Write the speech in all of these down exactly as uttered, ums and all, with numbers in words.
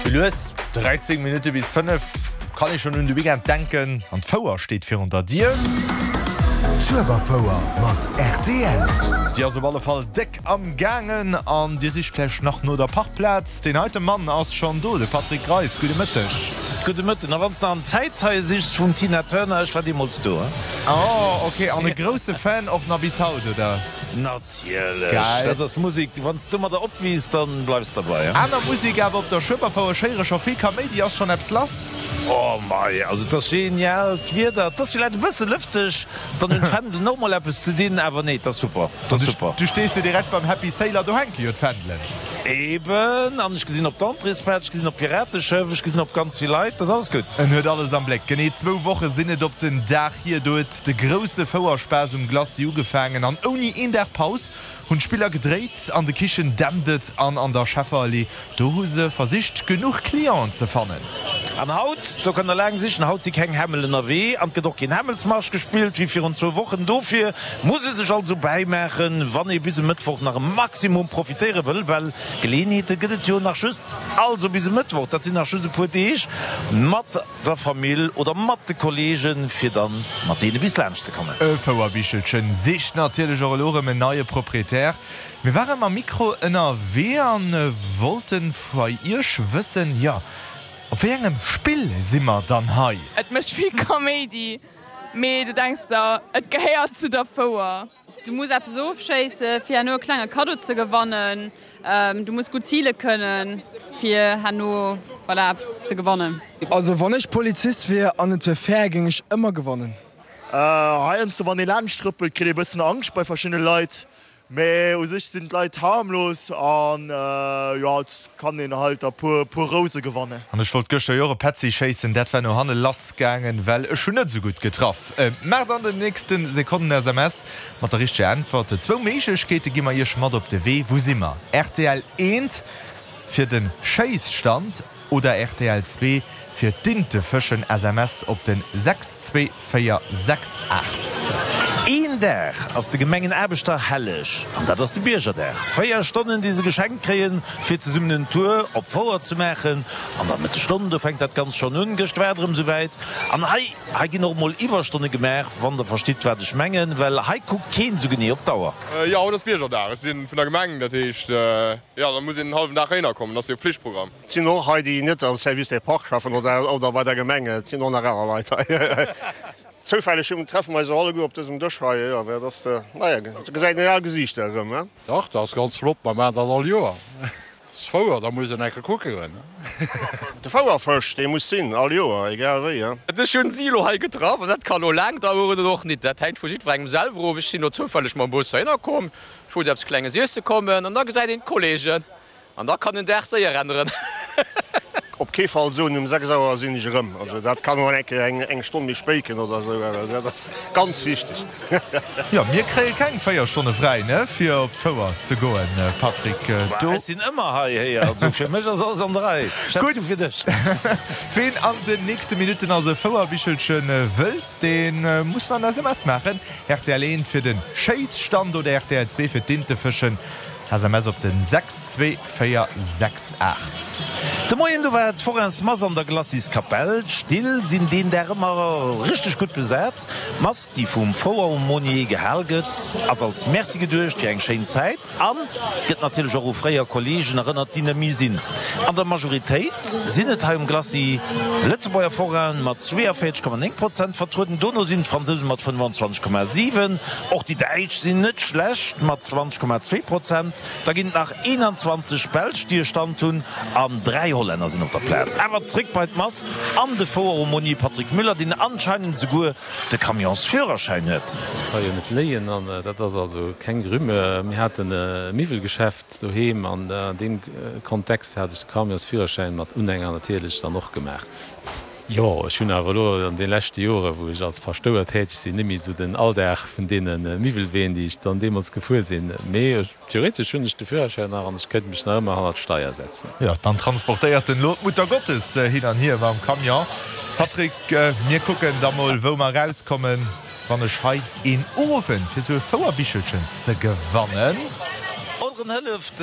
Sou lues, dräizéng Minutte bis fënnef, kann ee schonn un de Weekend denken an d'Fouer steet virun der Dier. D'Schueberfouer mat rtl. Déi ass op alle Fall déck am gaangen an Dir sicht vläicht nach no der Parkplaz. Deen heite Mann ass schonn do, de Patrick Greis. Gudde Mëtteg. Gudde Mëtten. A wann s de an Zäitzeie sichs vum Tina Turner, ech war deemools do. Oh ok, an e grousse Fan och nach bis haut, oder? Natierlech, Geil. dat ass Musek, wann s de domadder opwiisst, dann bleifs derbei. Aner Musek awer op der Schueberfouer, ech héiere scho vill Kaméidi, ass schonn eppes lass? Oh mei, also et ass genial, d'Wieder, et ass villäit e bësse lëfteg, dann hunn d'Fändelen och mol eppes ze dinn, awer nee, et ass super, et ass super. Du stees jo direkt beim Happy Sailor, do hänke jo d'Fändelen. Eben, an ech gesinn op d'Entréesplaz, ech gesinn op d'Pirateschëff, ech gesinn op ganz vill Leit, dat ass alles gutt. En huet alles am Bléck. Genee zwou Woche sinn et op den Dag hier, do huet de grousse Fouerspaass um Glacis ugefaangen an ouni een Dag Paus hunn d'Spiller gedréit. An de Kichen dämpt et an an der Schefferallee, do hu se versicht genuch Clienten ze fannen. An haut, do kënnt der laang sichen, haut si keng Hämmel ënnerwee an et gëtt och keen Hämmelsmarsch gespillt wéi virun zwou Wochen. Dofir muss ee sech also bäimaachen, wann ee bis e Mëttwoch nach e Maximum profitéiere wëll, well Geleeënheete gëtt et jo nach just also bis e Mëttwoch, dat sinn nach just e puer Deeg, mat der Famill oder mat de Kolleegen, fir dann mat deene bis laanscht ze kommen. E Fouerbichelchen sicht natierlech och elo erëm en neie Proprietär. Mir ware mam Mikro ënnerwee an wollten vei iech wëssen, jo, op wéi engem Spill si mer dann hei? Et mécht vill Kaméidi, mee du denks der, et gehéiert zu der Fouer. Du muss eppes ofschéisse fir herno e klenge Kaddo ze gewannen. Du muss gutt zile kënnen, fir herno, voilà, eppes ze gewannen. Also wann ech Polizist wier an et wier fair, géing ech ëmmer gewannen. Heiansdo wann ee laanscht trëppelt kritt ee bëssen Angscht bei verschiddene Leit, mee u sech sinn d'Leit harmlos an jo et kann een halt der puer puer Rouse gewannen. An ech wollt gëschter jo och e Petzi schéissen, dat war no hanne lass gaangen, well ech hunn net esou gutt getraff. Maacht an den nächste Sekonnen S M S mat der richteger Äntwert. Zwou Méiglechkeete gi mer iech mat op de Wee. Wou si mer? R T L eent fir de Schéisstand oder R T L zwee fir d'Intefëschen? S M S op den sechs zwee véier sechs aacht. Een Dag ass de Gemengenaarbechter helleg, an dat ass de Biergerdag. Véier Stonnen, déi se geschenkt kréien, fir zesummen en Tour op d'Fouer ze maachen. An der Mëttesstonn, do fänkt dat Ganzt schonn un. Gëscht war et erëm esouwäit. An hei, hei ginn och emol Iwwerstonne gemaach, wann der verstitt, wat ech mengen, well hei kuckt keen esou genee op d'Auer. Jo, haut ass Biergerdag. Ech si vun der Gemeng, dat heescht, jo, da muss een en hallwen Dag heihinner kommen, dat ass jo Pflichtprogramm. Et sinn och hei, déi net am Service des Parcs schaffen oder oder bei der Gemeng. Et sinn och nach aner Leit hei. Zoufälleg treffe mer eis och alleguer op dësem Dësch hei. Jo, dat ass, naja, do gesäit een al Gesiichter erëm, he? Dach, dat ass ganz flott, mer maachen dat all Joer. Dat ass Fouer, da muss een eng Kéier kucke goen. De Fouerfësch, dee muss sinn, all Joer, egal wéi, he? Ech hunn si elo hei getraff an dat ka lo laang daueren oder och nit. Dat hänkt vu jiddwerengem selwer of. Ech sinn elo zoufälleg mam Bus heihinner komm, ech wollt eppes Klenges iesse kommen an da gesäit een d'Kolleegen an da kann en Dag séier änneren. Op kee Fall soen, um sechs Auer sinn ech erëm. Also dat kann och eng Kéier eng Stonn méi spéit ginn oder esou, dat ass ganz wichteg. Jo, mir kréie keng véier Stonne fräi, ne, fir op d'Fouer ze goen, Patrick. Do. Ech sinn ëmmer hei, héier. Also fir mech ass alles an der Rei. Schätz du fir dech? Ween an den nächste Minutten also e Fouerbichelche wëll, dee muss mer en S M S maachen. R T L eent fir de Schéisstand oder R T L zwee fir d'Intefëschen. S M S op den sechs zwee véier sechs aacht. De Moien do war d'Forains-Mass an der Glaciskapell. D'Still sinn deen Dag ëmmer richteg gutt besat. D'Mass, déi vum Foueraumônier gehal gëtt, ass als Merci geduecht fir eng schéin Zäit an gëtt natierlech och u fréier Kolleegen erënnert, déi net méi sinn. An der Majoritéit sinn et hei um Glacis Lëtzebuerger Forainen mat zweeënvéierzeg Komma néng Prozent vertrueden. Dono sinn d'Fransousen mat fënnefenzwanzeg Komma siwen. Och déi Däitsch sinn net schlecht mat zwanzeg Komma zwee Prozent. Da ginn et nach eenanzwanzeg Belsch, déi e Stand hunn, an dräi Hollänner sinn op der Plaz. Awer zréck bei d'Mass an de Foueraumônier Patrick Müller, deen anscheinend esouguer de Camionsführerschäin huet. Ech ka jo net léien an dat ass also keng Rumeur. Mir haten e Miwwelgeschäft doheem an an deem Kontext hat ech de Camionsführerschäin mat Unhänger natierlech dann och gemaach. Jo, ech hunn awer elo an de leschte Jore wou ech als Paschtouer täteg sinn, net méi esou den Alldag vun deene Miwwelween, déi ech dann deemools gefuer sinn. Mee theoretesch hunn ech de Führerschäin nach an ech kéint mech nach ëmmer hannert d'Steier setzen. Jo, dann transportéiert en elo d'Mutter Gottes hin an hier mam Camion. Patrick, mir kucken da mol wou mer erauskommen, wann ech hei een Owend fir sou e Fouerbichelchen ze gewannen. Oder Baueren hëlleft,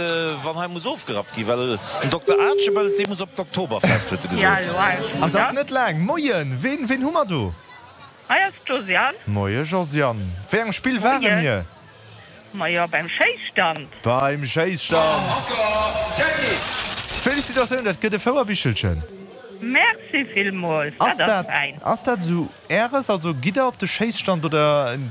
wann hei muss ofgerappt ginn, well den Dokter Aarchibald, dee muss op d'Oktoberfest, huet e gesot. An 't ass net laang. Moien, ween, ween hu mer do? Hei ass d'Josiane. Moie Josiane. Wéi engem Spill ware mir? Majo, beim Schéisstand. Beim Schéisstand. Felicitatioun, dat gëtt e Fouerbichelchen. Merci villmools, dat ass fäin. Ass dat esou Äres? Also gitt Der op de Schéisstand oder